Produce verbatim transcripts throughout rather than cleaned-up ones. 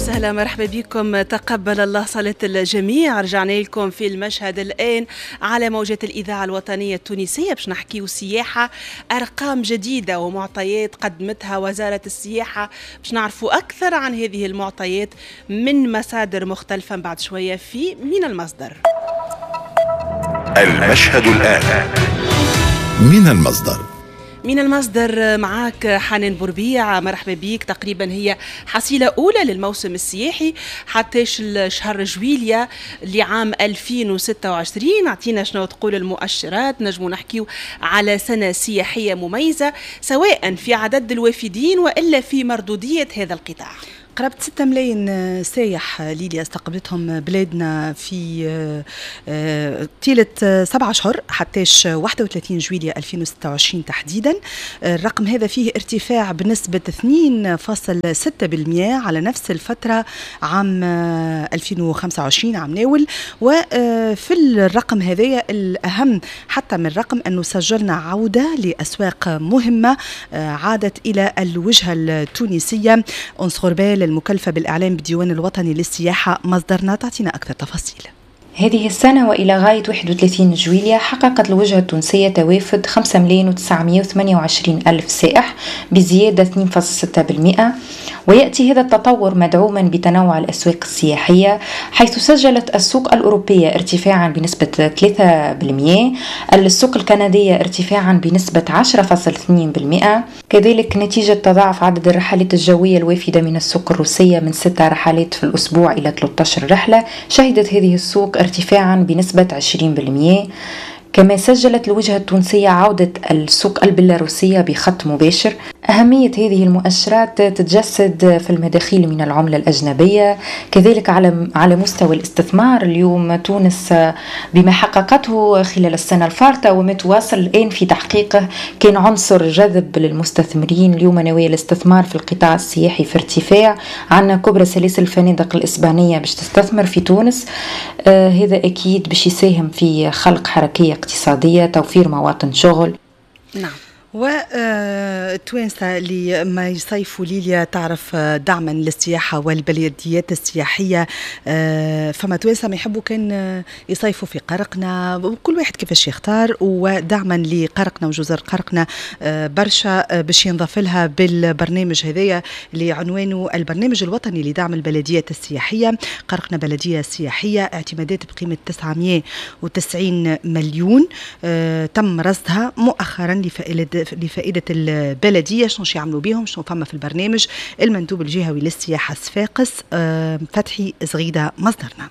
وسهلا، مرحبا بكم. تقبل الله صلاة الجميع. رجعنا لكم في المشهد الآن على موجات الإذاعة الوطنية التونسية باش نحكيو سياحة، أرقام جديدة ومعطيات قدمتها وزارة السياحة باش نعرفوا أكثر عن هذه المعطيات من مصادر مختلفة بعد شوية في من المصدر. المشهد الآن من المصدر. من المصدر معاك حنان بوربيع، مرحبا بيك. تقريبا هي حصيلة أولى للموسم السياحي حتى شهر جويليا لعام ألفين وستة وعشرين. اعطينا شنو تقول المؤشرات، نجمو نحكيو على سنة سياحية مميزة سواء في عدد الوافدين وإلا في مردودية هذا القطاع. قرابة ستة ملايين سايح ليليا استقبلتهم بلادنا في طيلة سبعة أشهر حتىش واحد وثلاثين جويلية ألفين وستة وعشرين تحديدا. الرقم هذا فيه ارتفاع بنسبة اثنين فاصل ستة بالمئة على نفس الفترة عام ألفين وخمسة وعشرين عام ناول. وفي الرقم هذايا الأهم حتى من الرقم أنه سجلنا عودة لأسواق مهمة عادت إلى الوجهة التونسية. أنس غربال المكلفة بالإعلام بالديوان الوطني للسياحة مصدرنا تعطينا أكثر تفاصيل. هذه السنة وإلى غاية واحد وثلاثين جويلية حققت الوجهة التونسية توافد خمسة ملايين وتسعمائة وثمانية وعشرين ألف سائح بزيادة اثنين فاصل ستة بالمئة، ويأتي هذا التطور مدعوما بتنوع الأسواق السياحية، حيث سجلت السوق الأوروبية ارتفاعا بنسبة ثلاثة بالمئة، السوق الكندية ارتفاعا بنسبة عشرة فاصل اثنين بالمئة، كذلك نتيجة تضاعف عدد الرحلات الجوية الوافدة من السوق الروسية من ستة رحلات في الأسبوع إلى ثلاثة عشر رحلة، شهدت هذه السوق ارتفاعا بنسبة عشرين بالمئة. كما سجلت الوجهة التونسية عودة السوق البيلاروسية بخط مباشر. أهمية هذه المؤشرات تتجسد في المداخيل من العملة الأجنبية، كذلك على على مستوى الاستثمار. اليوم تونس بما حققته خلال السنة الفارطة وما تواصل الآن في تحقيقه كان عنصر جذب للمستثمرين. اليوم نوايا الاستثمار في القطاع السياحي في ارتفاع، عندنا كبرى سلاسل الفنادق الإسبانية باش تستثمر في تونس، آه هذا أكيد باش يساهم في خلق حركية اقتصادية، توفير مواطن شغل. نعم. والتوانسة اللي ما يصيفوا ليليا تعرف دعما للسياحة والبلديات السياحية، فما توانسة ما يحبوا كان يصيفوا في قرقنا، وكل واحد كيفاش يختار. ودعما لقرقنا وجزر قرقنا برشا باش ينضاف لها بالبرنامج هذايا اللي عنوانه البرنامج الوطني لدعم البلديات السياحية، قرقنا بلدية سياحية، اعتمادات بقيمة تسعمائة وتسعين مليون تم رصدها مؤخرا لفائدة لفائدة البلدية. شنو يعملوا بيهم، شنو فما في البرنامج؟ المندوب الجهوي للسياحة صفاقس فتحي زغيدة مصدرنا.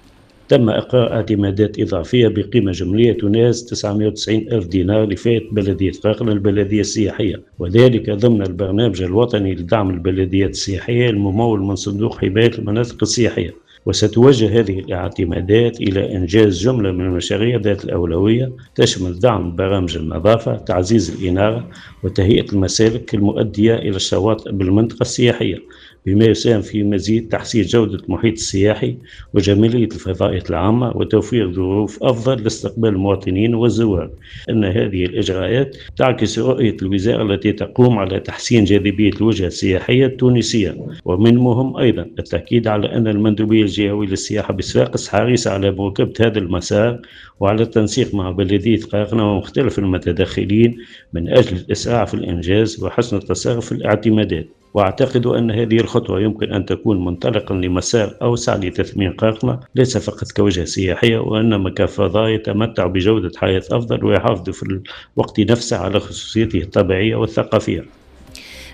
تم إقرار اعتمادات إضافية بقيمة جملية تناهز تسعمائة وتسعين ألف دينار لفائدة بلدية قرقنة البلدية السياحية، وذلك ضمن البرنامج الوطني لدعم البلديات السياحية الممول من صندوق حماية المناطق السياحية. وستوجه هذه الاعتمادات إلى إنجاز جملة من المشاريع ذات الأولوية تشمل دعم برامج النظافة، تعزيز الإنارة، وتهيئة المسالك المؤدية إلى الشواطئ بالمنطقة السياحية، بما يساهم في مزيد تحسين جودة المحيط السياحي وجمالية الفضاءات العامة وتوفير ظروف أفضل لاستقبال المواطنين والزوار. أن هذه الإجراءات تعكس رؤية الوزارة التي تقوم على تحسين جاذبية الوجهة السياحية التونسية. ومن مهم أيضا التأكيد على أن المندوبية الجهوية للسياحة بصفاقس حريصة على مواكبة هذا المسار وعلى التنسيق مع بلدية قرقنة ومختلف المتدخلين من أجل الإسراع في الإنجاز وحسن التصرف في الاعتمادات. وأعتقد أن هذه الخطوة يمكن أن تكون منطلقا لمسار أوسع لتثمين قرقنة ليس فقط كوجهة سياحية، وإنما كفضاء يتمتع بجودة حياة أفضل ويحافظ في الوقت نفسه على خصوصيته الطبيعية والثقافية.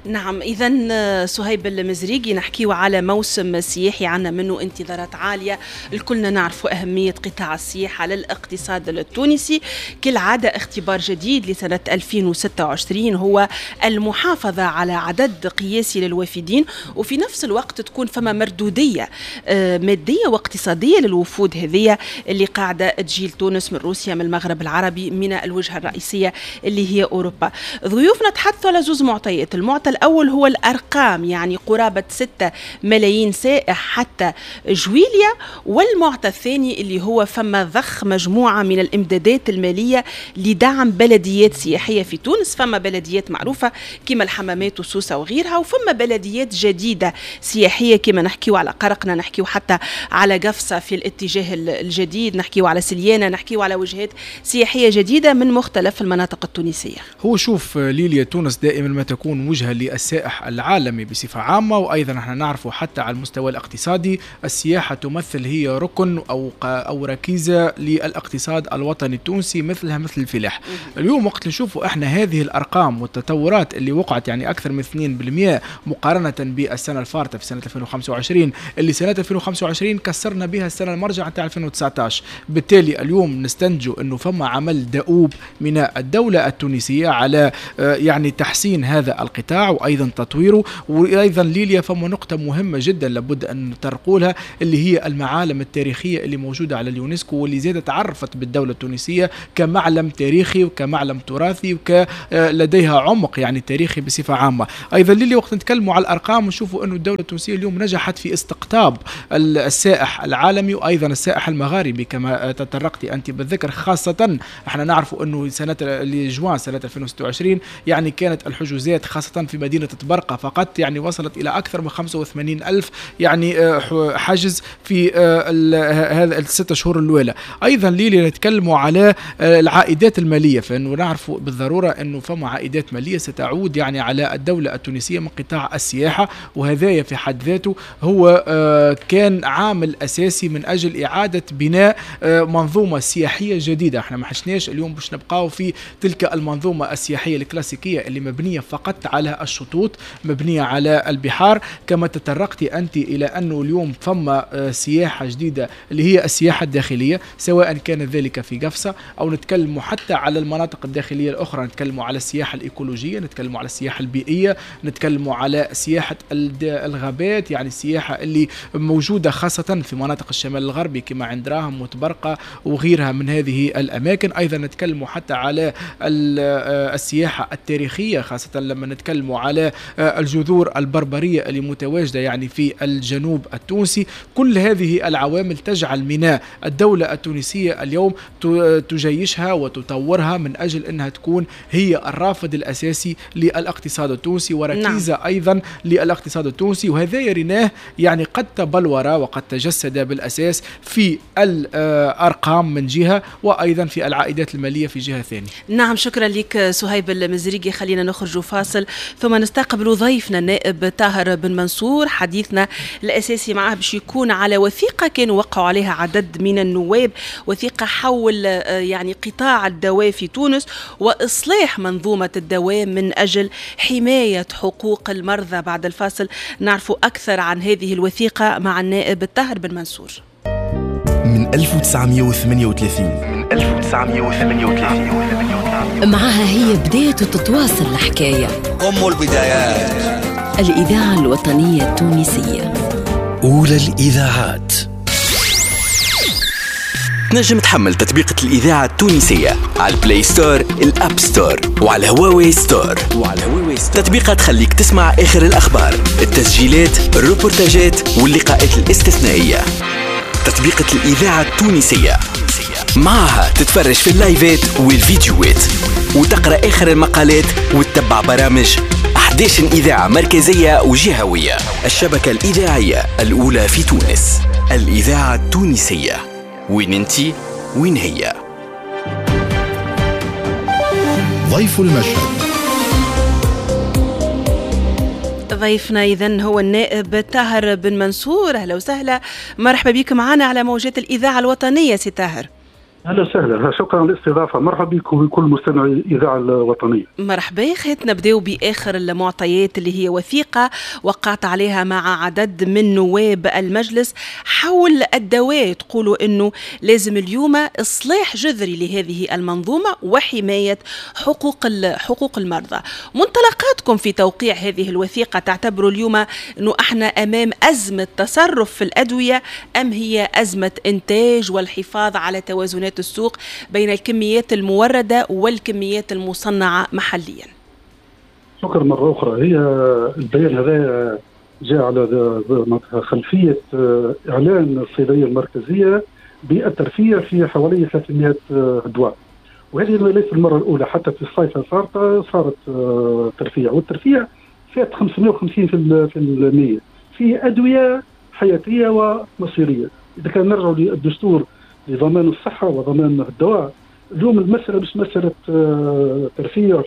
نعم، إذا صهيب المزريقي نحكيو على موسم سياحي عنا منه انتظارات عالية، الكلنا نعرفوا أهمية قطاع السياحة للاقتصاد التونسي. كالعادة اختبار جديد لسنة ألفين وستة وعشرين هو المحافظة على عدد قياسي للوافدين، وفي نفس الوقت تكون فما مردودية مادية واقتصادية للوفود هذه اللي قاعدة تجي لتونس من روسيا، من المغرب العربي، من الوجهة الرئيسية اللي هي أوروبا. ضيوفنا تحدثوا على زوز معطيات، المعطى المعطى الأول هو الأرقام، يعني قرابة ستة ملايين سائح حتى جويليا، والمعطى الثاني اللي هو فما ضخ مجموعة من الإمدادات المالية لدعم بلديات سياحية في تونس. فما بلديات معروفة كما الحمامات وسوسة وغيرها، وفما بلديات جديدة سياحية كما نحكيو على قرقنا، نحكيو حتى على قفصة في الاتجاه الجديد، نحكيو على سليانة، نحكيو على وجهات سياحية جديدة من مختلف المناطق التونسية. هو شوف ليليا، تونس دائما ما تكون وجهة للسائح العالمي بصفة عامة، وأيضا نحن نعرف حتى على المستوى الاقتصادي السياحة تمثل هي ركن أو أو ركيزة للاقتصاد الوطني التونسي مثلها مثل الفلاح. اليوم وقت نشوفوا احنا هذه الأرقام والتطورات اللي وقعت، يعني أكثر من اثنين بالمئة مقارنة بالسنة الفارطة في سنة ألفين وخمسة وعشرين، اللي سنة ألفين وخمسة وعشرين كسرنا بها السنة المرجع نتاع ألفين وتسعة عشر. بالتالي اليوم نستنتج انه فما عمل دؤوب من الدولة التونسية على يعني تحسين هذا القطاع وأيضا تطويره. وأيضا ليليا فما نقطة مهمة جدا لابد أن نطرقوا لها، اللي هي المعالم التاريخية اللي موجودة على اليونسكو، واللي زادت تعرفت بالدولة التونسية كمعلم تاريخي وكمعلم تراثي وكلديها عمق يعني تاريخي بصفة عامة. أيضا ليليا وقت نتكلموا على الأرقام نشوفوا أنه الدولة التونسية اليوم نجحت في استقطاب السائح العالمي وأيضا السائح المغاربي كما تطرقت أنت بالذكر. خاصة احنا نعرفوا أنه سنة لجوان سنة ألفين وستة وعشرين يعني كانت الحجوزات خاصة في مدينة طبرقة فقط يعني وصلت إلى أكثر من خمسة وثمانين ألف يعني حجز في هذا الست شهور الأولى. أيضا ليلي نتكلموا على العائدات المالية، فإنه نعرف بالضرورة أنه فما عائدات مالية ستعود يعني على الدولة التونسية من قطاع السياحة، وهذا في حد ذاته هو كان عامل أساسي من أجل إعادة بناء منظومة سياحية جديدة. احنا ما حشناش اليوم باش نبقاو في تلك المنظومة السياحية الكلاسيكية اللي مبنية فقط على الشطوط، مبنية على البحار. كما تطرقت أنت إلى أنه اليوم فما سياحة جديدة اللي هي السياحة الداخلية، سواء كان ذلك في قفصة أو نتكلم حتى على المناطق الداخلية الأخرى، نتكلم على السياحة الإيكولوجية، نتكلم على السياحة البيئية، نتكلم على سياحة الغابات، يعني السياحة اللي موجودة خاصة في مناطق الشمال الغربي كما عند راهم وتبرقة وغيرها من هذه الأماكن. أيضا نتكلم حتى على السياحة التاريخية، خاصة لما نتكلم على الجذور البربرية اللي متواجدة يعني في الجنوب التونسي. كل هذه العوامل تجعل من الدولة التونسية اليوم تجيشها وتطورها من أجل أنها تكون هي الرافد الأساسي للاقتصاد التونسي وركيزة نعم. أيضا للاقتصاد التونسي. وهذا يريناه يعني قد تبلور وقد تجسد بالأساس في الأرقام من جهة، وأيضا في العائدات المالية في جهة ثانية. نعم، شكرا لك صهيب المزريقي. خلينا نخرج فاصل ثم نستقبل ضيفنا النائب طاهر بن منصور. حديثنا الأساسي معه باش يكون على وثيقة كانوا وقعوا عليها عدد من النواب، وثيقة حول يعني قطاع الدواء في تونس وإصلاح منظومة الدواء من أجل حماية حقوق المرضى. بعد الفاصل نعرف أكثر عن هذه الوثيقة مع النائب طاهر بن منصور. من ألف وتسعمئة وثمانية وثلاثين من ألف وتسعمئة وثمانية وثلاثين معها هي بداية تتواصل الحكاية، أم البدايات، الإذاعة الوطنية التونسية، أولى الإذاعات. تنجم تحمل تطبيقة الإذاعة التونسية على ال Play Store، ال App Store، وعلى هواوي Store. وعلى هواوي Store تطبيقة تخليك تسمع آخر الأخبار، التسجيلات، الروبورتاجات واللقاءات الاستثنائية. تطبيقة الإذاعة التونسية معها تتفرج في اللايفات والفيديوهات وتقرأ آخر المقالات وتتبع برامج أحد عشر إذاعة مركزية وجهوية. الشبكة الإذاعية الأولى في تونس، الإذاعة التونسية. وين انتي وين هي؟ ضيف المشهد. ضيفنا إذن هو النائب طاهر بن منصور. أهلا وسهلا، مرحبا بك معنا على موجات الإذاعة الوطنية سي طاهر. أهلا وسهلا، شكرا للاستضافة، مرحبا بكم وبكل مستمعي الإذاعة الوطنية. مرحبا. خيت نبداو بآخر المعطيات اللي هي وثيقة وقعت عليها مع عدد من نواب المجلس حول الدواء، تقولوا أنه لازم اليوم إصلاح جذري لهذه المنظومة وحماية حقوق حقوق المرضى. منطلقاتكم في توقيع هذه الوثيقة، تعتبروا اليوم أنه احنا أمام أزمة تصرف في الأدوية أم هي أزمة إنتاج والحفاظ على توازنات السوق بين الكميات الموردة والكميات المصنعة محليا؟ شكرا مرة أخرى. هي البيان هذا جاء على خلفية إعلان الصيدلية المركزية بالترفيع في حوالي ثلاثمئة دواء، وهذه ليست المرة الأولى، حتى في الصيف صارت صارت ترفيع، والترفيع فات خمسمئة وخمسين في المئة في أدوية حياتية ومصيرية. إذا كان نرجع للدستور لضمان الصحة وضمان الدواء، اليوم المسألة مش مسألة ترفيع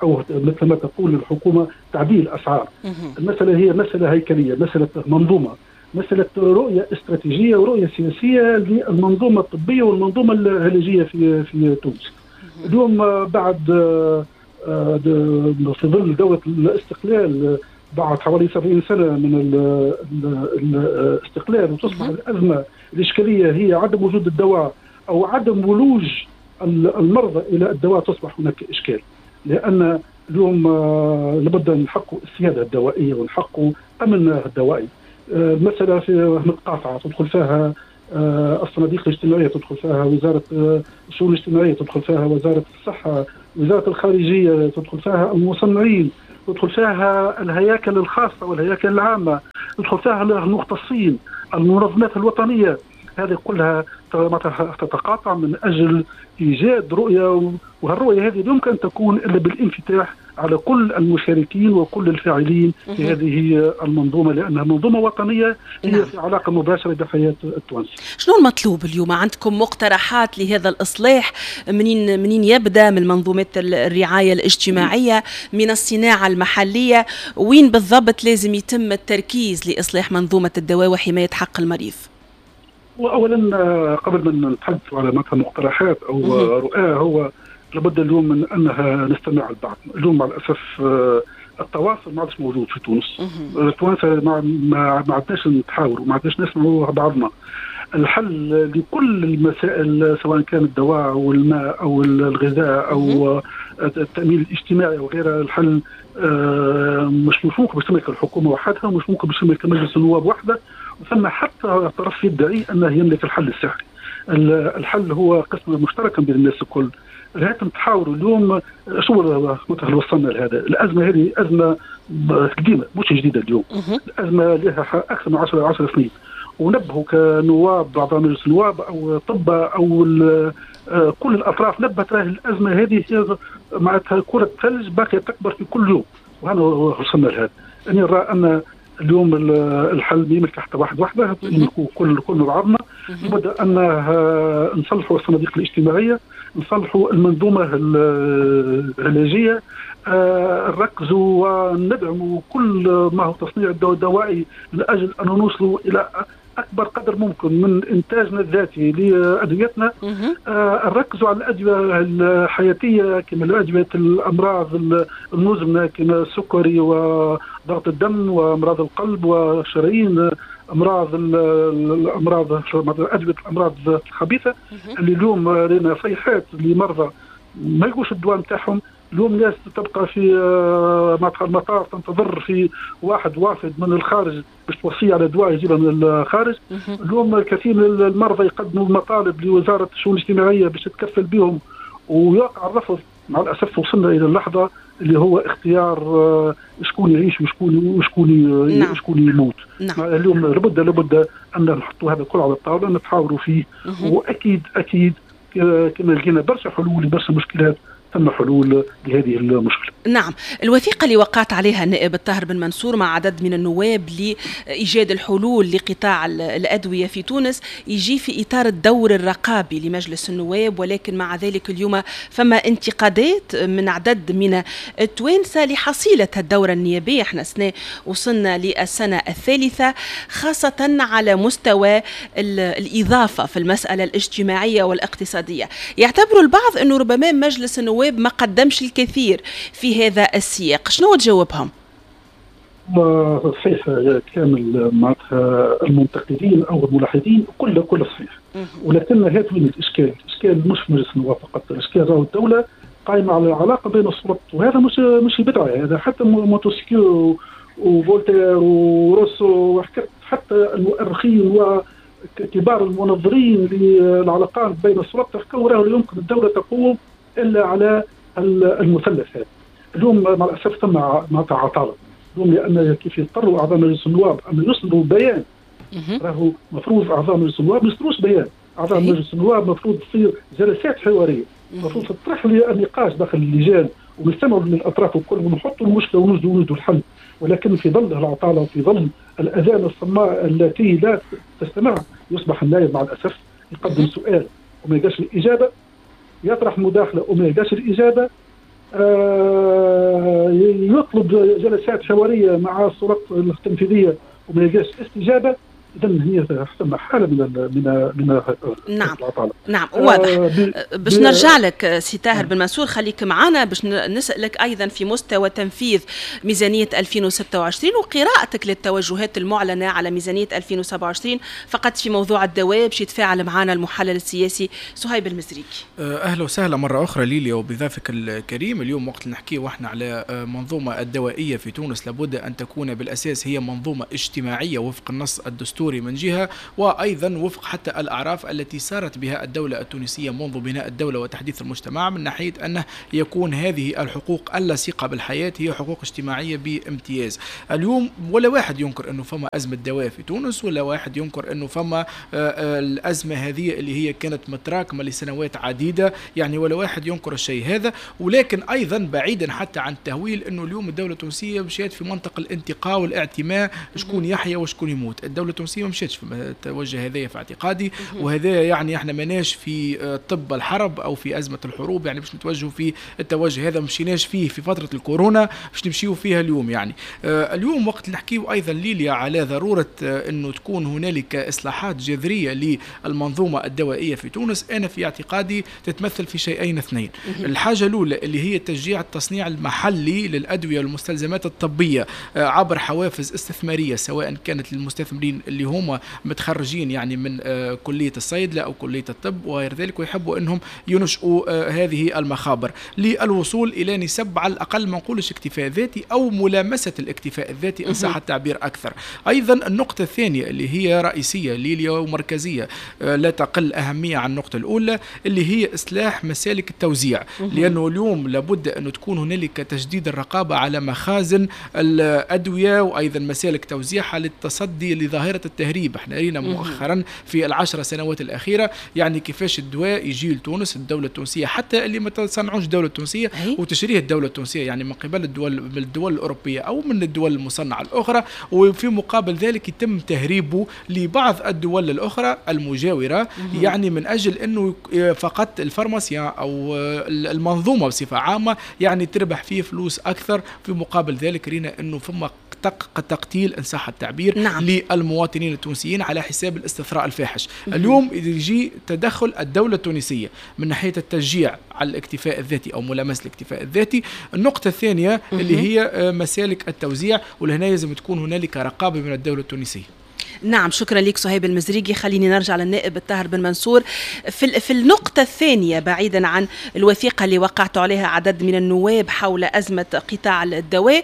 أو مثل ما تقول الحكومة تعديل أسعار. المسألة هي مسألة هيكلية، مسألة منظومة، مسألة رؤية استراتيجية ورؤية سياسية للمنظومة الطبية والمنظومة العلاجية في في تونس. اليوم بعد في ظل دولة الاستقلال بعد حوالي سبعين سنة من الاستقلال، وتصبح الأزمة الإشكالية هي عدم وجود الدواء أو عدم ولوج المرضى إلى الدواء، تصبح هناك إشكال. لأن اليوم لابد أن نحققوا السيادة الدوائية ونحققوا أمن الدوائي. المسألة في متقاطعة، تدخل فيها الصناديق الاجتماعية، تدخل فيها وزارة الشؤون الاجتماعية، تدخل فيها وزارة الصحة، وزارة الخارجية، تدخل فيها المصنعين، تدخل فيها الهياكل الخاصة والهياكل العامة، تدخل فيها المختصين، المنظمات الوطنية. هذه كلها تتقاطع من أجل إيجاد رؤية، وهالرؤية هذه يمكن أن تكون إلا بالانفتاح على كل المشاركين وكل الفاعلين في هذه المنظومة، لأنها منظومة وطنية هي نعم. في علاقة مباشرة بحياة التوانسة. شنو المطلوب اليوم؟ عندكم مقترحات لهذا الإصلاح؟ منين منين يبدأ؟ من منظومات الرعاية الاجتماعية، من الصناعة المحلية، وين بالضبط لازم يتم التركيز لإصلاح منظومة الدواء وحماية حق المريض؟ وأولا قبل ما نتحدث على مثلا مقترحات أو رؤى، هو لابد اليوم من أنها نستمع البعض. اليوم مع الأسف التواصل ما عادش موجود في تونس. التوانسة ما ما عدناش نتحاوروا، ما عدناش نسمعوا بعضنا. الحل لكل المسائل سواء كان الدواء أو الماء أو الغذاء أو التأمين الاجتماعي وغيرها، الحل مش مش ممكن باش تملك الحكومة وحدها، مش ممكن باش تملك مجلس النواب وحده، وثم حتى طرف يدعي أنه يملك الحل السحري. الحل هو قسم مشترك بين الناس الكل. هات نتحاوروا اليوم شو مثلا وصلنا لهذا. الأزمة هذه أزمة قديمة مش جديدة اليوم، الأزمة لها أكثر من عشر عشر سنين، ونبهوا كنواب أعضاء مجلس النواب أو طبة أو كل الأطراف نبهت راهي الأزمة هذه هي معناتها كرة ثلج باقية تكبر في كل يوم، وهنا وصلنا لهذا. أنا نرى أن اليوم الحل يملك حتى واحد وحده، يملكوا كل كل بعضنا. لابد أن نصلحوا الصناديق الاجتماعية، نصلحوا المنظومة العلاجية، نركزوا وندعموا كل ما هو تصنيع الدوائي من أجل أن نوصلوا إلى أكبر قدر ممكن من إنتاجنا الذاتي لأدويتنا. نركزوا على الأدوية الحياتية كما أدوية الأمراض المزمنة كما السكري وضغط الدم وأمراض القلب والشرايين، أمراض الأمراض أدوية الأمراض الخبيثة اللي اليوم لنا صيحات لمرضى ما يلقوش الدواء نتاعهم. اليوم ناس تبقى في المطار تنتظر في واحد وافد من الخارج باش توصية على دواء يجيبها من الخارج. اليوم الكثير من المرضى يقدموا مطالب لوزارة الشؤون الاجتماعية باش تتكفل بهم ويقع الرفض. مع الأسف وصلنا إلى اللحظة اللي هو اختيار شكون يعيش وشكون وشكون نعم. وشكون يموت. نعم. اليوم لابد لابد أن نحطوا هذا الكل على الطاولة نتحاوروا فيه، وأكيد أكيد كما لقينا برشا حلول لبرشا مشكلات تم حلول لهذه المشكلة. نعم، الوثيقة اللي وقعت عليها النائب الطاهر بن منصور مع عدد من النواب لإيجاد الحلول لقطاع الأدوية في تونس يجي في إطار الدور الرقابي لمجلس النواب، ولكن مع ذلك اليوم فما انتقادات من عدد من التوانسة لحصيلة الدورة النيابية. احنا سنة وصلنا للسنة الثالثة، خاصة على مستوى الإضافة في المسألة الاجتماعية والاقتصادية. يعتبر البعض أنه ربما مجلس النواب ما قدمش الكثير في هذا السياق، شنو تجاوبهم؟ صحيح كامل معناتها المنتقدين او الملاحظين كل كل صحيح، ولكن هذا وين الاشكال؟ الاشكال مش في مجلس النواب فقط، الاشكال راهو الدولة قائمة على العلاقة بين السلطات، وهذا مش مش بدعة، هذا حتى مونتسكيو وفولتير وروسو وحكت حتى المؤرخين وكبار المنظرين للعلاقات بين السلطات حكوا راهو يمكن الدولة تقوم الا على المثلث هذا. اليوم مع الاسف ثم معناتها عطاله اليوم، لان كيف يضطروا اعضاء مجلس النواب ان يصدروا بيان، راهو المفروض اعضاء مجلس النواب ما يصدروش بيان، اعضاء مجلس النواب المفروض تصير جلسات حوارية، المفروض تطرح النقاش داخل اللجان ونستمعوا للاطراف الكل ونحطوا المشكلة ونوجدوا ونوجدوا الحل. ولكن في ظل العطاله وفي ظل الاذان الصماء التي لا تستمع، يصبح النائب مع الاسف يقدم سؤال وما يلقاش الاجابة، يطرح مداخله وما يلقاش الاجابة، آه يطلب جلسات حوارية مع السلطات التنفيذية وما يلقاش استجابة. اذا هي ثم حاله من من من نعم العطاله. نعم واضح. آه باش نرجع لك سي طاهر بن منصور، خليك معنا باش نسالك ايضا في مستوى تنفيذ ميزانية ألفين وستة وعشرين وقراءتك للتوجهات المعلنة على ميزانية ألفين وسبعة وعشرين فقط في موضوع الدواء، باش يتفاعل معنا المحلل السياسي صهيب المزريكي. اهلا وسهلا مرة اخرى ليليا وبضيفك الكريم. اليوم وقت نحكي واحنا على منظومة الدوائية في تونس، لابد ان تكون بالاساس هي منظومة اجتماعية وفق النص الدستوري من جهة، وأيضا وفق حتى الأعراف التي سارت بها الدولة التونسية منذ بناء الدولة وتحديث المجتمع، من ناحية أنه يكون هذه الحقوق اللصيقة بالحياة هي حقوق اجتماعية بامتياز. اليوم ولا واحد ينكر أنه فما أزمة دواء في تونس، ولا واحد ينكر أنه فما الأزمة هذه اللي هي كانت متراكمة لسنوات عديدة، يعني ولا واحد ينكر الشيء هذا. ولكن أيضا بعيدا حتى عن التهويل، أنه اليوم الدولة التونسية مشيت في منطق الانتقاء والاعتماء، شكون يحيا وشكون يموت. الدولة التونسية ما مشيتش في التوجه هذايا في اعتقادي، وهذا يعني احنا ماناش في طب الحرب او في ازمة الحروب، يعني باش نتوجهوا في التوجه هذا مشيناش فيه في فترة الكورونا باش نمشيو فيها اليوم. يعني اليوم وقت نحكيو ايضا ليليا على ضرورة انه تكون هنالك اصلاحات جذرية للمنظومة الدوائية في تونس، انا في اعتقادي تتمثل في شيئين اثنين. الحاجة الاولى اللي هي تشجيع التصنيع المحلي للادوية والمستلزمات الطبية عبر حوافز استثمارية، سواء كانت للمستثمرين اللي هما متخرجين يعني من كلية الصيدلة أو كلية الطب وغير ذلك، ويحبوا أنهم ينشئوا هذه المخابر للوصول إلى نسب على الأقل ما نقولش اكتفاء ذاتي أو ملامسة الاكتفاء الذاتي إن صح التعبير أكثر. أيضا النقطة الثانية اللي هي رئيسية ليليا ومركزية لا تقل أهمية عن النقطة الأولى، اللي هي إصلاح مسالك التوزيع، لأنه اليوم لابد أن تكون هنالك تشديد الرقابة على مخازن الأدوية وأيضا مسالك توزيعها للتصدي لظاهرة التهريب. احنا رينا مؤخرا في العشر سنوات الأخيرة يعني كيفاش الدواء يجي لتونس، الدولة التونسية حتى اللي ما تصنعوش الدولة التونسية وتشريه الدولة التونسية يعني من قبل الدول من الدول الأوروبية أو من الدول المصنعة الأخرى، وفي مقابل ذلك يتم تهريبه لبعض الدول الأخرى المجاورة، يعني من أجل أنه فقط الفارماسيان أو المنظومة بصفة عامة يعني تربح فيه فلوس أكثر. في مقابل ذلك رينا أنه فما تقتيل إن صح التعبير نعم. للمواطنين التونسيين على حساب الاستثراء الفاحش. اليوم يجي تدخل الدولة التونسية من ناحية التشجيع على الاكتفاء الذاتي أو ملامسة الاكتفاء الذاتي. النقطة الثانية اللي هي مسالك التوزيع، ولهنا لازم تكون هنالك رقابة من الدولة التونسية. نعم شكرا لك صهيب المزريقي. خليني نرجع للنائب الطاهر بن منصور في في النقطة الثانية، بعيدا عن الوثيقة اللي وقعت عليها عدد من النواب حول أزمة قطاع الدواء،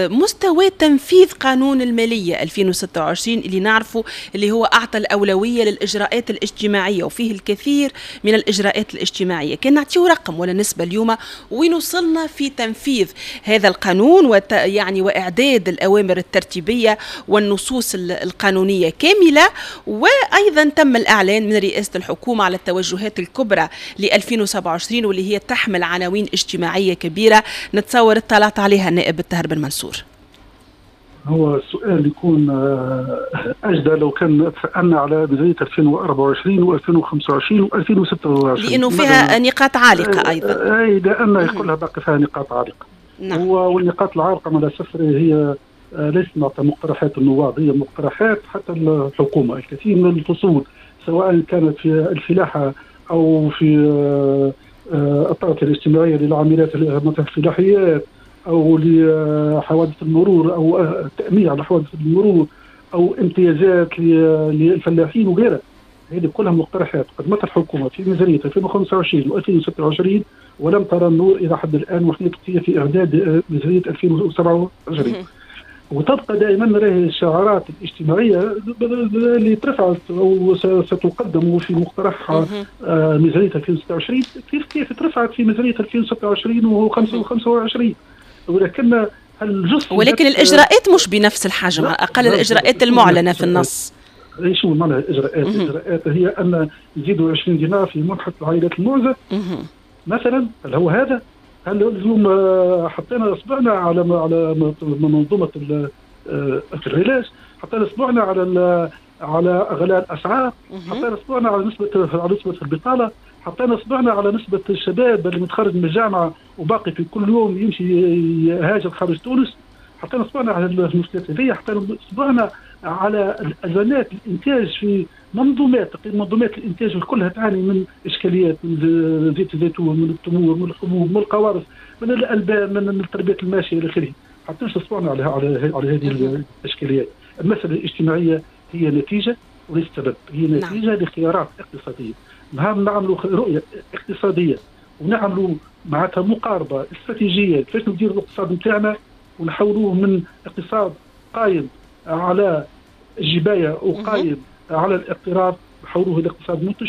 مستوى تنفيذ قانون المالية ألفين وستة وعشرين اللي نعرفه اللي هو أعطى الأولوية للإجراءات الاجتماعية وفيه الكثير من الإجراءات الاجتماعية، كان نعطيه رقم ولا نسبة اليوم وين وصلنا في تنفيذ هذا القانون وت يعني وإعداد الأوامر الترتيبية والنصوص القانونية كاملة، وأيضا تم الإعلان من رئاسة الحكومة على التوجهات الكبرى ل ألفين وسبعة وعشرين واللي هي تحمل عناوين اجتماعية كبيرة نتصور اطلعت عليها النائب الطاهر بن منصور. هو السؤال يكون أجدى لو كان تسألنا على ميزانية ألفين وأربعة وعشرين وألفين وخمسة وعشرين وألفين وستة وعشرين، لأنه فيها نقاط عالقة أيضا. أي لأن كلها باقي فيها نقاط عالقة. نعم. والنقاط العالقة مع الأسف هي ليست مقترحات النواب، هي مقترحات حتى الحكومة. الكثير من الفصول سواء كانت في الفلاحة أو في الطاقة الاجتماعية للعاملات مثلا الفلاحيات أو لحوادث المرور أو التأمين على حوادث المرور أو امتيازات للفلاحين وغيرها، هذه كلها مقترحات قدمتها الحكومة في ميزانية ألفين وخمسة وعشرين وألفين وستة وعشرين ولم ترى النور إلى حد الآن، وحنا في إعداد ميزانية ألفين وسبعة وعشرين. وتبقى دائما راهي الشعارات الاجتماعية اللي ترفعت او ستقدم في مقترح ميزانية ألفين وستة وعشرين كيف كيف ترفعت في ميزانية ألفين وستة وعشرين وخمسة وعشرين. ولكن الجزء ولكن الإجراءات مش بنفس الحجم، على الأقل الإجراءات المعلنة في النص. شو معنى الإجراءات؟ الإجراءات هي أن نزيدوا عشرين دينار في منحة العائلات المعزة مثلا. هل هو هذا؟ هل اليوم حطينا اصبعنا على على منظومة العلاج، حطينا اصبعنا على على غلاء الاسعار، حطينا اصبعنا على نسبه على نسبه البطالة، حطينا اصبعنا على نسبه الشباب اللي متخرج من الجامعة وباقي في كل يوم يمشي يهاجر خارج تونس، حطينا اصبعنا على المشكلات هذه، حطينا اصبعنا على الازمات الانتاج في منظومات، منظومات الانتاج كلها تعاني من اشكاليات، من زيت الزيتون، من التمور، من الحبوب، من القوارص، من الالبان، من تربيه الماشية الى اخره. حطينا اصبعنا على على على هذه الاشكاليات. المسالة الاجتماعية هي نتيجة وليس سبب، هي نتيجة نعم. لخيارات اقتصادية. نهار نعملوا رؤية اقتصادية ونعملوا معناتها مقاربة استراتيجية كيفاش نديروا الاقتصاد نتاعنا ونحولوه من اقتصاد قايم على الجبايه وقايم على الاقتراض، نحولوه الى اقتصاد منتج،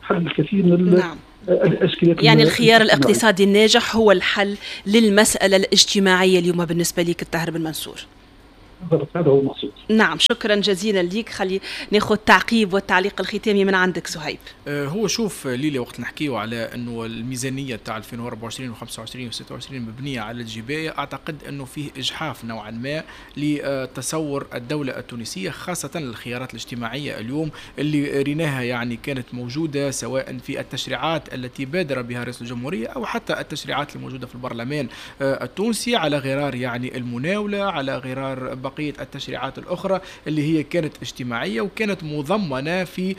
تحل الكثير من نعم. الاشكاليات. يعني الخيار الاقتصادي الناجح هو الحل للمسالة الاجتماعية اليوم بالنسبة لك الطاهر بن منصور. بالضبط، هذا هو المقصود. نعم، شكرا جزيلا لك. خلي ناخذ تعقيب والتعليق الختامي من عندك سهيب. هو شوف ليلى، وقت نحكيو على انه الميزانية تاع ألفين وأربعة وعشرين وخمسة وعشرين وستة وعشرين مبنية على الجبايه، اعتقد انه فيه اجحاف نوعا ما لتصور الدولة التونسية، خاصة الخيارات الاجتماعية اليوم اللي ريناها يعني كانت موجودة سواء في التشريعات التي بادر بها رئيس الجمهورية او حتى التشريعات الموجودة في البرلمان التونسي، على غرار يعني المناوله، على غرار بقية التشريعات الأخرى اللي هي كانت اجتماعية وكانت مضمنة في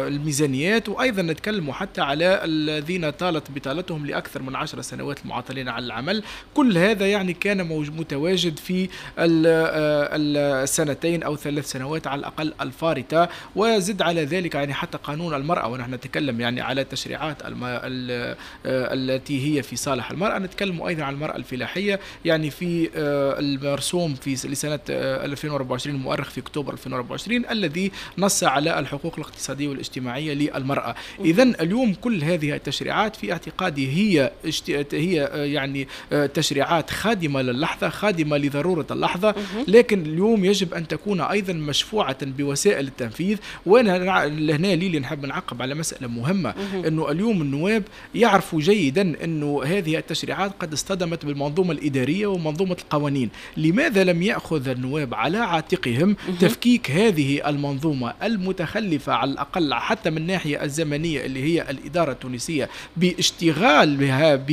الميزانيات. وأيضا نتكلم حتى على الذين طالت بطالتهم لأكثر من عشر سنوات المعطلين على العمل. كل هذا يعني كان متواجد في السنتين أو ثلاث سنوات على الأقل الفارطة. وزد على ذلك يعني حتى قانون المرأة، ونحن نتكلم يعني على التشريعات التي هي في صالح المرأة، نتكلم أيضا عن المرأة الفلاحية يعني في المرسوم في لسنة ألفين وأربعة وعشرين المؤرخ في أكتوبر ألفين وأربعة وعشرين الذي نص على الحقوق الاقتصادية والاجتماعية للمرأة. إذن اليوم كل هذه التشريعات في اعتقادي هي هي يعني تشريعات خادمة للحظة، خادمة لضرورة اللحظة، لكن اليوم يجب أن تكون أيضا مشفوعة بوسائل التنفيذ. وأنا هنا ليلي نحب نعقب على مسألة مهمة، أنه اليوم النواب يعرفوا جيدا أنه هذه التشريعات قد اصطدمت بالمنظومة الإدارية ومنظومة القوانين. لماذا لم يأخذ النواب على عاتقهم تفكيك هذه المنظومة المتخلفة على الأقل حتى من الناحية الزمنية اللي هي الإدارة التونسية، باشتغال بها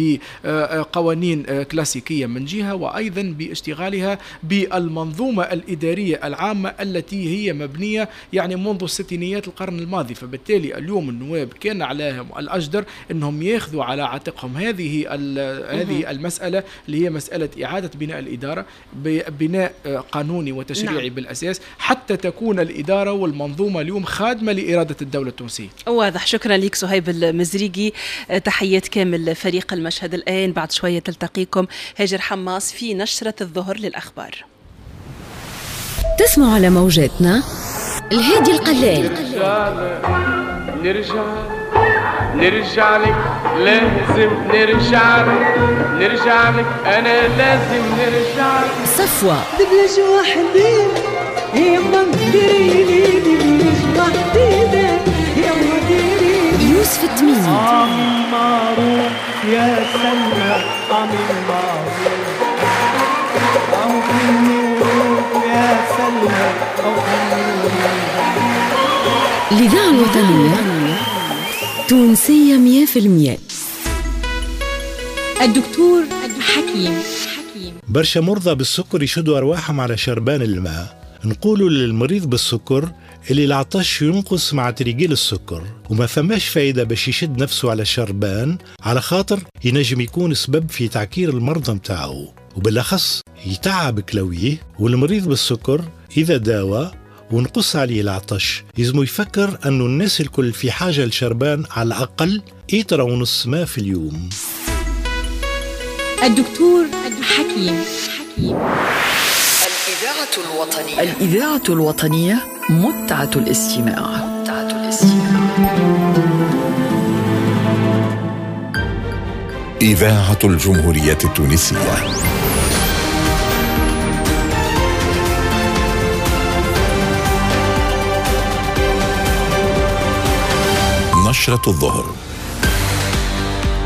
بقوانين كلاسيكية من جهة، وأيضا باشتغالها بالمنظومة الإدارية العامة التي هي مبنية يعني منذ الستينيات القرن الماضي. فبالتالي اليوم النواب كان عليهم الأجدر أنهم يأخذوا على عاتقهم هذه هذه المسألة اللي هي مسألة إعادة بناء الإدارة بناء قانوني وتشريعي نعم. بالأساس، حتى تكون الإدارة والمنظومة اليوم خادمة لإرادة الدولة التونسية. واضح. شكرا لك صهيب المزريقي، تحيات كامل فريق المشهد. الآن بعد شوية تلتقيكم هاجر حماص في نشرة الظهر للأخبار. تسمع على موجاتنا الهادي القلال. نرجع نرجع لك، لازم نرجع لك، نرجع لك، أنا لازم نرجع لك. صفوة دبلج وحدي يما ديري دبلج وحدي يما ديري. يوسف التميمي عامل معروف يا سلمى، عامل معروف يا سلمى. الإذاعة الوطنية تونسية مية في المية. الدكتور حكيم. برشا مرضى بالسكر يشدوا أرواحهم على شربان الماء. نقولوا للمريض بالسكر اللي العطش ينقص مع تريجيل السكر، وما فماش فايدة باش يشد نفسه على شربان، على خاطر ينجم يكون سبب في تعكير المرضى متاعه، وبالأخص يتعب كلويه. والمريض بالسكر إذا داوى ونقص عليه العطش يلزمو يفكر أنه الناس الكل في حاجة لشربان على الأقل إترة ونص ماء في اليوم. الدكتور حكيم. الإذاعة الوطنية، الإذاعة الوطنية متعة الاستماع. متعة الاستماع. إذاعة الجمهورية التونسية. نشرة الظهر.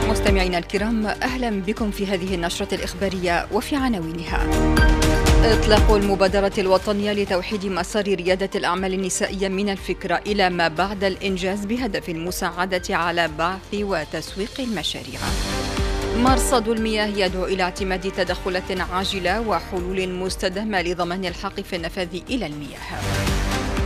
مستمعينا الكرام، أهلا بكم في هذه النشرة الإخبارية وفي عناوينها: إطلاق المبادرة الوطنية لتوحيد مسار ريادة الأعمال النسائية من الفكرة إلى ما بعد الإنجاز بهدف المساعدة على بعث وتسويق المشاريع. مرصد المياه يدعو إلى اعتماد تدخلات عاجلة وحلول مستدامة لضمان الحق في النفاذ إلى المياه.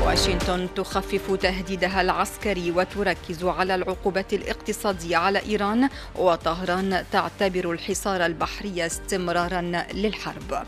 واشنطن تخفف تهديدها العسكري وتركز على العقوبات الاقتصادية على إيران، وطهران تعتبر الحصار البحري استمرارا للحرب.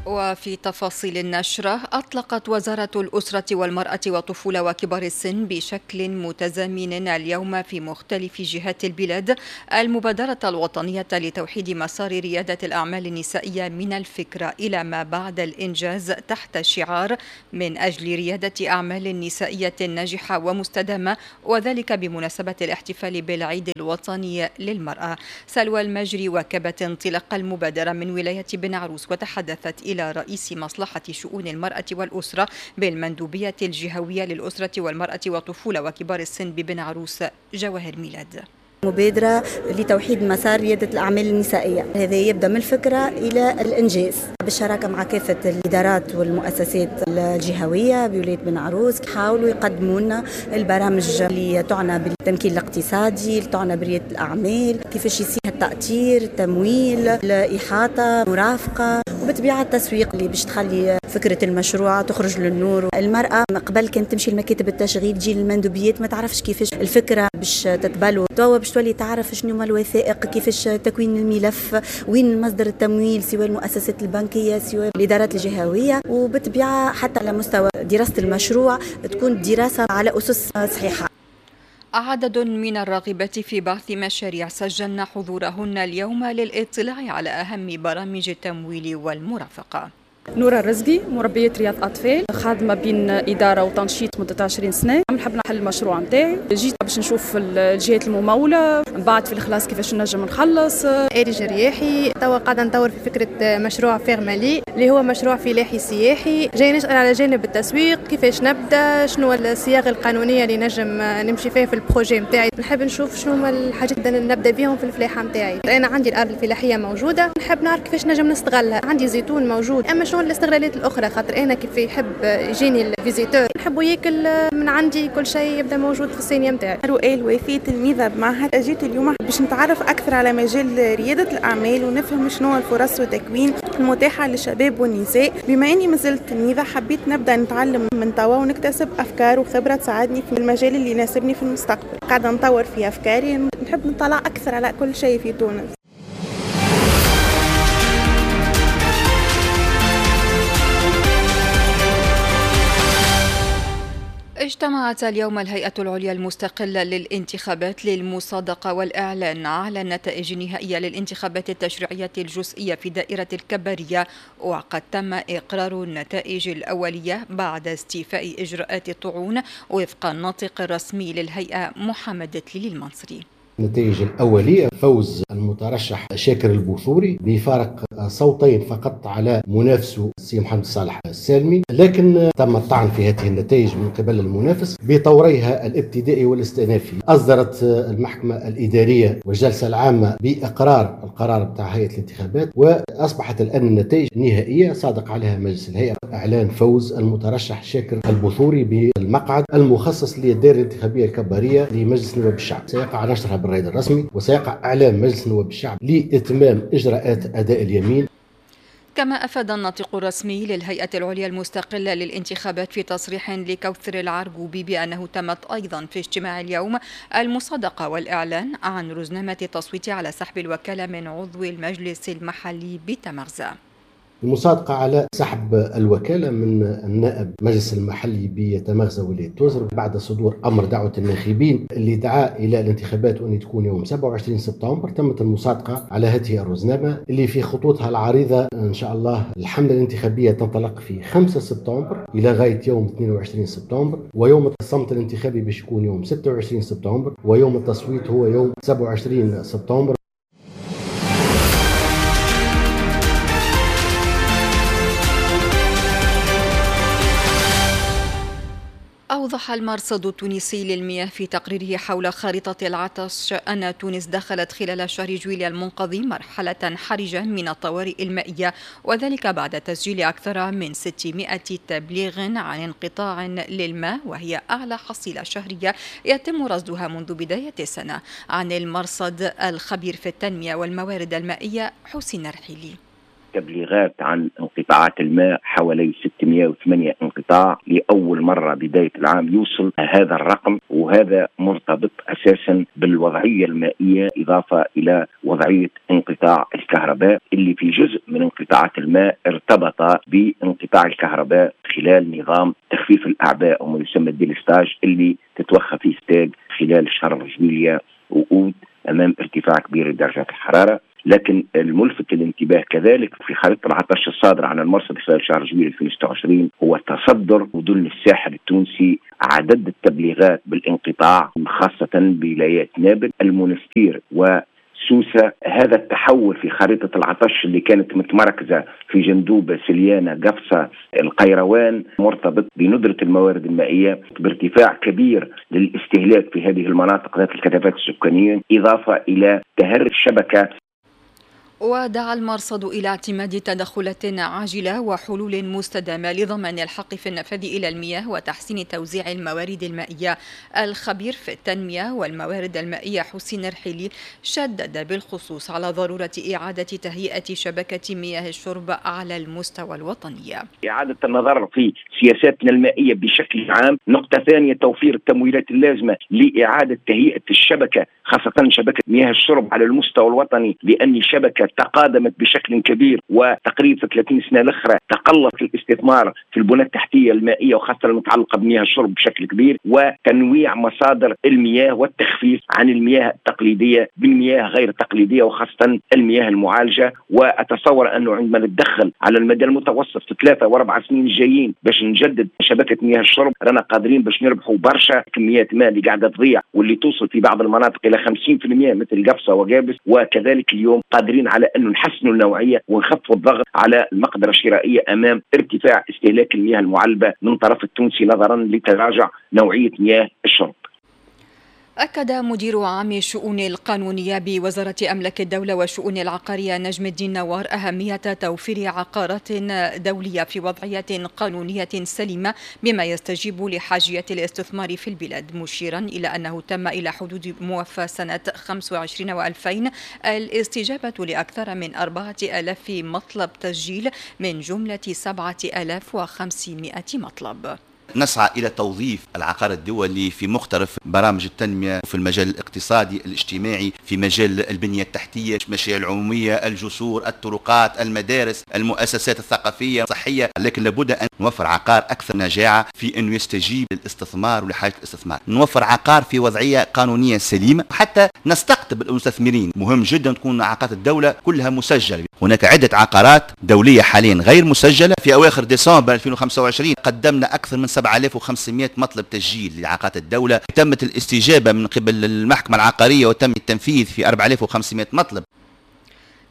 وفي تفاصيل النشرة، أطلقت وزارة الأسرة والمرأة والطفولة وكبار السن بشكل متزامن اليوم في مختلف جهات البلاد المبادرة الوطنية لتوحيد مسار ريادة الأعمال النسائية من الفكرة إلى ما بعد الإنجاز تحت شعار من أجل ريادة أعمال نسائية ناجحة ومستدامة، وذلك بمناسبة الاحتفال بالعيد الوطني للمرأة. سلوى المجري واكبت انطلاق المبادرة من ولاية بن عروس وتحدثت إلى رئيس مصلحة شؤون المرأة والأسرة بالمندوبية الجهوية للأسرة والمرأة والطفولة وكبار السن ببن عروس جواهر ميلاد. مبادرة لتوحيد مسار ريادة الأعمال النسائية، هذا يبدأ من الفكرة إلى الإنجاز بالشراكة مع كافة الإدارات والمؤسسات الجهوية بولاية بن عروس. حاولوا يقدموا لنا البرامج اللي تعنى بالتمكين الاقتصادي، اللي تعنى بريادة الأعمال، كيفاش يصير التأطير، التمويل، الإحاطة، مرافقة، وبطبيعة التسويق اللي باش تخلي فكرة المشروع تخرج للنور. المرأة قبل كانت تمشي لمكاتب التشغيل، تجي للمندوبيات، ما تعرفش كيفاش الفكرة باش تتبلو، توا باش تولي تعرف شنو هما الوثائق، كيفاش تكوين الملف، وين مصدر التمويل، سواء المؤسسات البنكية سواء الإدارات الجهوية. وبطبيعة حتى على مستوى دراسة المشروع تكون دراسة على أسس صحيحة. عدد من الراغبات في بعث مشاريع سجلن حضورهن اليوم للاطلاع على أهم برامج التمويل والمرافقة. نورة الرزقي، مربية رياض أطفال، خادمة بين إدارة وتنشيط مدة عشرين سنة. نحب نحل المشروع نتاعي، جيت باش نشوف الجهات الممولة، من بعد في الخلاص كيفاش نجم نخلص. إيري رياحي، توا قاعدة نطور في فكرة مشروع فيرمالي اللي هو مشروع فلاحي سياحي. جاي نسأل على جانب التسويق، كيفاش نبدا، شنو الصياغة القانونية اللي نجم نمشي فيها في ال projet نتاعي. نحب نشوف شنو هما الحاجات اللي نبدا بيهم في الفلاحة نتاعي. أنا عندي الأرض الفلاحية موجودة، نحب نعرف كيفاش نجم نستغلها. عندي زيتون موجود، أما شنو الاستغلالات الاخرى، خاطر انا كيف يحب يجيني ال visiteur نحبه ياكل من عندي كل شيء يبدا موجود في الصينية نتاعي. رؤى الوافي، تلميذه بمعهد، جيت اليوم باش نتعرف اكثر على مجال رياده الاعمال ونفهم شنو الفرص والتكوين المتاحة للشباب والنساء. بما اني مازلت تلميذه حبيت نبدا نتعلم من توا ونكتسب افكار وخبره تساعدني في المجال اللي يناسبني في المستقبل. قاعدة نطور في افكاري، نحب نطلع اكثر على كل شيء في تونس. اجتمعت اليوم الهيئة العليا المستقلة للانتخابات للمصادقة والإعلان على النتائج النهائية للانتخابات التشريعية الجزئية في دائرة الكبارية، وقد تم إقرار النتائج الأولية بعد استيفاء إجراءات الطعون وفق الناطق الرسمي للهيئة محمد تليلي المنصري. النتائج الأولية: فوز المترشح شاكر البوثوري بفارق صوتين فقط على منافسه السي محمد صالح السالمي، لكن تم الطعن في هذه النتائج من قبل المنافس بطوريها الابتدائي والاستئنافي. أصدرت المحكمة الإدارية والجلسة العامة بإقرار القرار بتاع هيئة الانتخابات، وأصبحت الآن النتائج النهائية صادق عليها مجلس الهيئة إعلان فوز المترشح شاكر البوثوري بالمقعد المخصص للدائرة الانتخابية الكبارية لمجلس نواب الشعب. سيقع نشرها بالرائد الرسمي، وسيقع إعلام مجلس نواب الشعب لإتمام إجراءات أداء اليمين. كما أفاد الناطق الرسمي للهيئة العليا المستقلة للانتخابات في تصريح لكوثر العرجوبي بأنه تمت أيضا في اجتماع اليوم المصادقة والإعلان عن رزنامة التصويت على سحب الوكالة من عضو المجلس المحلي بتمغزة. المصادقة على سحب الوكالة من النائب مجلس المحلي بتمغزة ولاية توزر بعد صدور أمر دعوة الناخبين اللي دعا إلى الانتخابات وأن تكون يوم سبعة وعشرين سبتمبر. تمت المصادقة على هذه الرزنامة اللي في خطوطها العريضة إن شاء الله الحملة الانتخابية تنطلق في خمسة سبتمبر إلى غاية يوم اثنين وعشرين سبتمبر، ويوم الصمت الانتخابي باش يكون يوم ستة وعشرين سبتمبر، ويوم التصويت هو يوم سبعة وعشرين سبتمبر. أوضح المرصد التونسي للمياه في تقريره حول خارطة العطش أن تونس دخلت خلال شهر جويلية المنقضي مرحلة حرجة من الطوارئ المائية، وذلك بعد تسجيل أكثر من ستمائة تبليغ عن انقطاع للماء، وهي أعلى حصيلة شهرية يتم رصدها منذ بداية السنة. عن المرصد الخبير في التنمية والموارد المائية حسين رحيلي. تبليغات عن انقطاعات الماء حوالي ستمائة وثمانية انقطاع لأول مرة بداية العام يوصل هذا الرقم، وهذا مرتبط أساسا بالوضعية المائية إضافة إلى وضعية انقطاع الكهرباء اللي في جزء من انقطاعات الماء ارتبط بانقطاع الكهرباء خلال نظام تخفيف الأعباء وما يسمى ال délestage اللي تتوخى فيه ستاج خلال شهر جويلية وأوت أمام ارتفاع كبير لدرجات الحرارة. لكن الملفت للانتباه كذلك في خريطة العطش الصادرة عن المرصد خلال شهر جويلية ألفين وستة وعشرين هو تصدر مدن الساحل التونسي عدد التبليغات بالانقطاع، خاصة بولايات نابل، المنستير وسوسة. هذا التحول في خريطة العطش اللي كانت متمركزة في جندوبة، سليانة، قفصة، القيروان، مرتبط بندرة الموارد المائية، بارتفاع كبير للاستهلاك في هذه المناطق ذات الكثافات السكانية، إضافة إلى تهرب الشبكة. ودعا المرصد إلى اعتماد تدخلات عاجلة وحلول مستدامة لضمان الحق في النفاذ إلى المياه وتحسين توزيع الموارد المائية. الخبير في التنمية والموارد المائية حسين رحيلي شدد بالخصوص على ضرورة إعادة تهيئة شبكة مياه الشرب على المستوى الوطني. إعادة النظر في سياساتنا المائية بشكل عام. نقطة ثانية، توفير التمويلات اللازمة لإعادة تهيئة الشبكة، خاصة شبكة مياه الشرب على المستوى الوطني، لأن شبكة تقادمت بشكل كبير وتقريبا في ثلاثين سنة الأخرى تقلص الاستثمار في البنى التحتية المائية وخاصة المتعلقة بمياه الشرب بشكل كبير، وتنويع مصادر المياه والتخفيف عن المياه التقليدية بالمياه غير التقليدية وخاصة المياه المعالجة. وأتصور أنه عندما نتدخل على المدى المتوسط في ثلاثة وأربع سنين الجايين باش نجدد شبكة مياه الشرب رانا قادرين باش نربحوا برشا كميات ماء اللي قاعدة تضيع واللي توصل في بعض المناطق إلى خمسين بالمئة مثل قفصة وقابس. وكذلك اليوم قادرين على أنه نحسنوا النوعية ونخفوا الضغط على المقدرة الشرائية أمام ارتفاع استهلاك المياه المعلبة من طرف التونسي نظرا لتراجع نوعية مياه الشرب. أكد مدير عام الشؤون القانونية بوزارة أملاك الدولة والشؤون العقارية نجم الدين نوار أهمية توفير عقارات دولية في وضعية قانونية سليمة بما يستجيب لحاجية الاستثمار في البلاد، مشيرا إلى أنه تم إلى حدود موفى سنة خمسة وعشرين وألفين الاستجابة لأكثر من أربعة آلاف مطلب تسجيل من جملة سبعة آلاف وخمسمائة مطلب. نسعى إلى توظيف العقار الدولي في مختلف برامج التنمية في المجال الاقتصادي الاجتماعي، في مجال البنية التحتية، المشاريع العمومية، الجسور، الطرقات، المدارس، المؤسسات الثقافية الصحية. لكن لابد أن نوفر عقار أكثر نجاعة في أنه يستجيب للاستثمار ولحاجة الاستثمار. نوفر عقار في وضعية قانونية سليمة حتى نستقطب المستثمرين. مهم جدا تكون عقارات الدولة كلها مسجلة. هناك عدة عقارات دولية حاليا غير مسجلة. في أواخر ديسمبر ألفين وخمسة وعشرين قدمنا أكثر من سبعة آلاف وخمسمائة مطلب تسجيل لعقارات الدولة. تمت الاستجابة من قبل المحكمة العقارية وتم التنفيذ في أربعة آلاف وخمسمائة مطلب.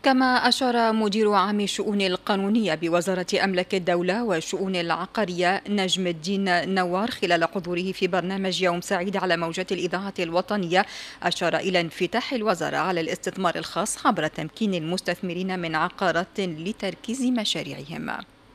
كما أشار مدير عام الشؤون القانونية بوزارة أملاك الدولة والشؤون العقارية نجم الدين نوار خلال حضوره في برنامج يوم سعيد على موجات الإذاعة الوطنية، أشار إلى انفتاح الوزارة على الاستثمار الخاص عبر تمكين المستثمرين من عقارات لتركيز مشاريعهم.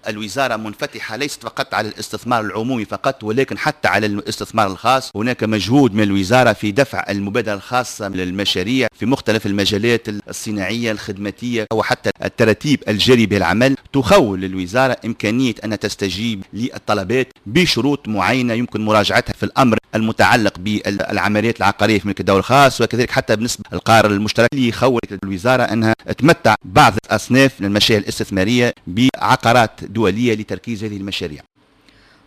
الوزارة منفتحة ليست فقط على الاستثمار العمومي فقط، ولكن حتى على الاستثمار الخاص. هناك مجهود من الوزارة في دفع المبادرة الخاصة للمشاريع في مختلف المجالات الصناعية الخدماتية وحتى التراتيب الجاري به العمل تخول للوزارة إمكانية أن تستجيب للطلبات بشروط معينة يمكن مراجعتها في الأمر المتعلق بالعمليات العقارية في ملك الدولة الخاص، وكذلك حتى بالنسبة للقرار المشترك اللي يخول الوزارة أنها تمتع بعض أصناف المشاريع الاستثمارية بعقارات دولية لتركيز هذه المشاريع.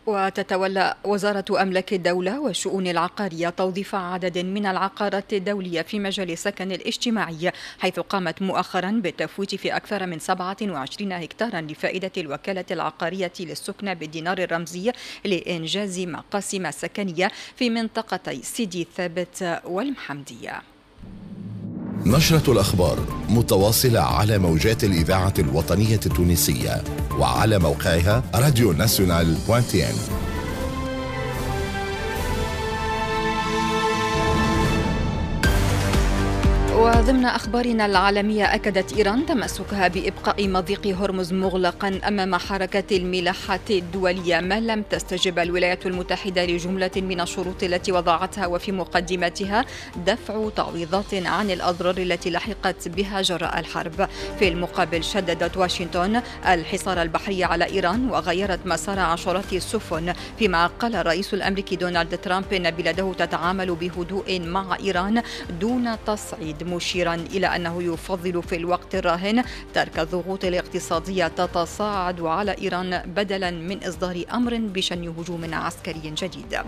وتتولى وزارة أملاك الدولة والشؤون العقارية توظيف عدد من العقارات الدولية في مجال السكن الاجتماعي، حيث قامت مؤخرا بالتفويت في أكثر من سبعة وعشرين هكتارا لفائدة الوكالة العقارية للسكنى بالدينار الرمزي لإنجاز مقاسم سكنية في منطقتي سيدي ثابت والمحمدية. نشرة الأخبار متواصلة على موجات الإذاعة الوطنية التونسية وعلى موقعها راديو ناسيونال point tn. وضمن أخبارنا العالمية، أكدت إيران تمسكها بإبقاء مضيق هرمز مغلقا أمام حركة الملاحة الدولية ما لم تستجب الولايات المتحدة لجملة من الشروط التي وضعتها، وفي مقدمتها دفع تعويضات عن الأضرار التي لحقت بها جراء الحرب. في المقابل شددت واشنطن الحصار البحري على إيران وغيرت مسار عشرات السفن، فيما قال الرئيس الأمريكي دونالد ترامب إن بلاده تتعامل بهدوء مع إيران دون تصعيد، مشيرا إلى أنه يفضل في الوقت الراهن ترك الضغوط الاقتصادية تتصاعد على إيران بدلا من إصدار أمر بشن هجوم عسكري جديد.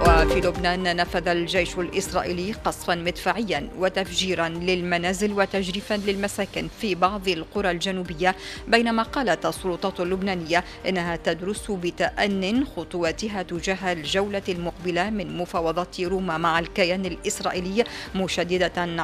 وفي لبنان نفذ الجيش الإسرائيلي قصفا مدفعيا وتفجيرا للمنازل وتجريفا للمساكن في بعض القرى الجنوبية، بينما قالت السلطات اللبنانية إنها تدرس بتأن خطواتها تجاه الجولة المقبلة من مفاوضات روما مع الكيان الإسرائيلي، مشددة على